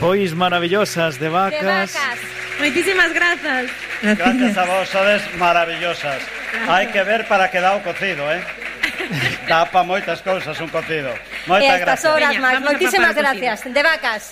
Pois maravillosas de vacas. Moitísimas grazas. Gracias a vos, sodes maravillosas. Hai que ver para que dá o cocido, Dá pa moitas cousas un cocido. Moitas gracias. Veña, Horas máis, moitísimas gracias. De vacas.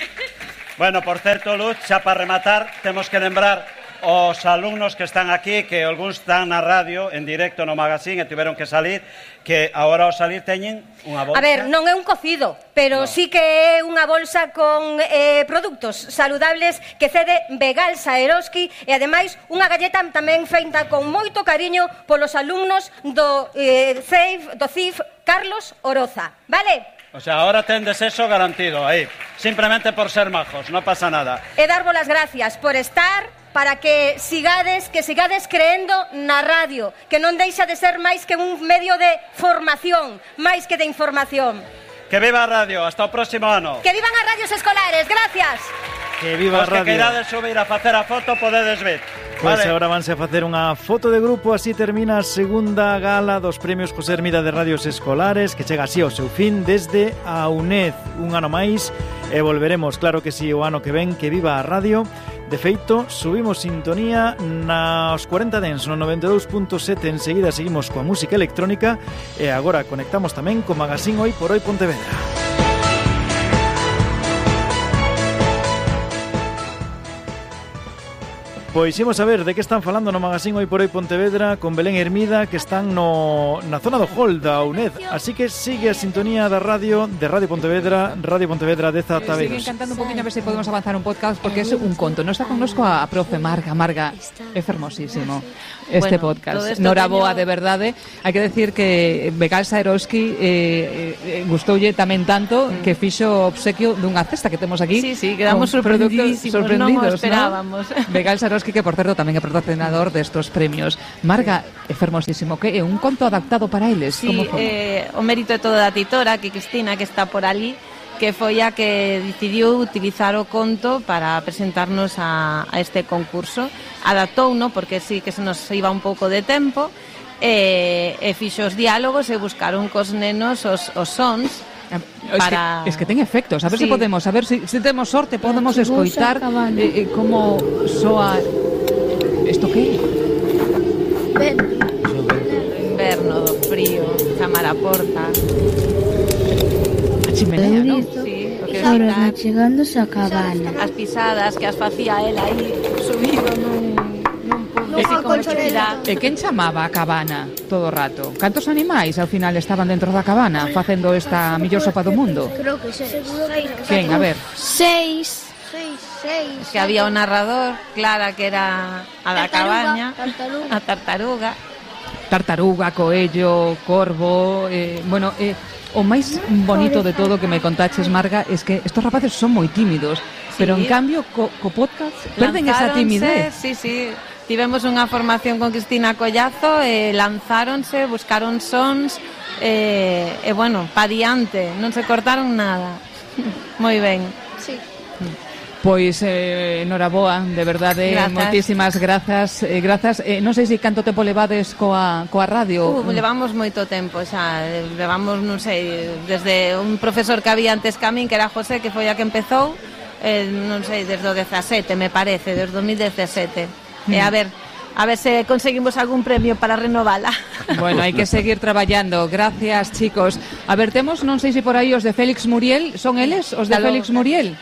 Bueno, por certo, Luz, xa para rematar, temos que lembrar os alumnos que están aquí, que algúns están na radio, en directo no magazín, e tiveron que salir, que agora ao salir teñen unha bolsa. A ver, non é un cocido, pero sí que é unha bolsa con produtos saludables que cede Vegal Saeroski e, ademais, unha galleta tamén feita con moito cariño polos alumnos do CIF Carlos Oroza, vale? O sea, ahora tendes eso garantido aí, simplemente por ser majos, non pasa nada. E darvos as gracias por estar, para que sigades creendo na radio, que non deixa de ser máis que un medio de formación, máis que de información. Que viva a radio, hasta o próximo ano. Que vivan as radios escolares, gracias. Que viva a radio. Os que queirades subir a facer a foto, podedes ver. Pois Vale. agora vanse a facer unha foto de grupo. Así termina a segunda gala dos premios José Hermida de Radios Escolares, que chega así ao seu fin desde a UNED. Un ano máis e volveremos, claro que sí, o ano que ven. Que viva a radio. De feito, subimos sintonía nos 40 Dens no 92.7. Enseguida seguimos coa música electrónica e agora conectamos tamén co magazín Hoy por Hoy Pontevedra. Pois imos a ver de que están falando no magazín Hoy por Hoy Pontevedra con Belén Hermida, que están na zona do hall da UNED. Así que sigue a sintonía da radio de Radio Pontevedra 10 Ataveros. Siguen cantando un poquinho a ver se podemos avanzar un podcast, porque é un conto. Non está connosco a profe Marga. É fermosísimo este podcast. Noraboa, de verdade. Hai que decir que Vegal Saeroski gustoulle tamén tanto que fixo obsequio dunha cesta que temos aquí. Sí, quedamos sorprendidos, non o esperábamos. ¿no? Vegal Saeroski, que por certo tamén é patrocinador destos premios. Marga, é fermosísimo, que é un conto adaptado para eles. Sí, o mérito é todo da titora, que Cristina, que está por ali, que foi a que decidiu utilizar o conto para presentarnos a este concurso. Adaptouno, porque sí que se nos iba un pouco de tempo, e fixo os diálogos e buscaron cos nenos os sons. Es que ten efectos. A ver se podemos, a ver se temos sorte, podemos escoitar como soa. Isto que? Inverno, do frío, chamar a porta. A chimenea, non? Sí, o que Ahora chegándose a cabana. As pisadas que as facía ela aí subido nun E quen chamaba a cabana todo o rato? Cantos animais ao final estaban dentro da cabana facendo esta mellor sopa do mundo? Creo que seguro que Quen? A ver. 6. Que había un narrador, Clara, que era a da cabaña, a tartaruga. Tartaruga, coello, corvo, o máis bonito de todo que me contaches, Marga, es que estos rapaces son moi tímidos, pero en cambio co podcast perden esa timidez. Sí. Tivemos unha formación con Cristina Collazo e lanzáronse, buscaron sons e bueno, pa diante, non se cortaron nada. Moi ben. Sí. Pois noraboa, de verdade, moitísimas grazas. Non sei se canto tempo levades coa radio. Levamos moito tempo xa, levamos, non sei, desde un profesor que había antes que a min, que era José, que foi a que empezou, non sei, desde o 17, me parece, desde 2017. E a ver se conseguimos algún premio para renovala. Bueno, hai que seguir traballando. Gracias, chicos. A ver, temos, non sei se por aí os de Félix Muriel, son eles, os de Félix Muriel?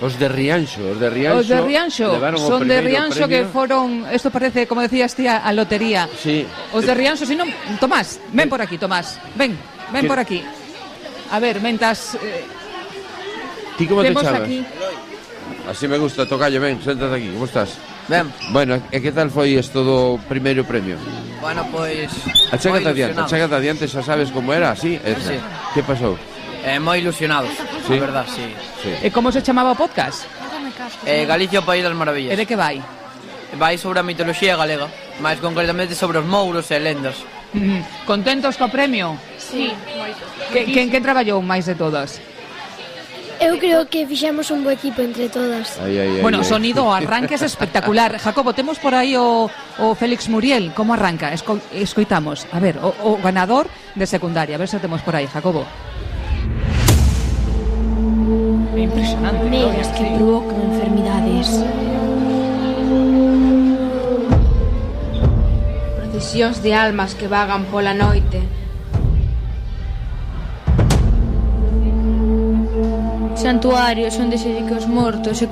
Os de Rianxo. Son de Rianxo que foron, isto parece, como decías tía, a lotería. Sí. Os de Rianxo, si non, Tomás, ven por aquí, Tomás. Ven por aquí. A ver, mentas Ti como te chamas? Aquí. Así me gusta, tocayo, ven, séntate aquí. Como estás? Ben. Bueno, e que tal foi isto do primeiro premio? Bueno, pois Achégate adiante, xa sabes como era, así? Sí. Que pasou? Moi ilusionados, sí? A verdad, sí. E como se chamaba o podcast? Galicia, o País das Maravillas. E de que vai? Vai sobre a mitoloxía galega, máis concretamente sobre os mouros e lendas. Contentos co premio? Sí, moito. Quen traballou máis de todas? Eu creo que fixemos un bo equipo entre todas. Bueno, sonido, o arranque es espectacular. Jacobo, temos por aí o Félix Muriel. Como arranca? Escoitamos. A ver, o ganador de secundaria. A ver se temos por aí, Jacobo. impresionante. Megas que provocan enfermidades. Procesións de almas que vagan pola noite. Santuarios onde se dedica aos mortos e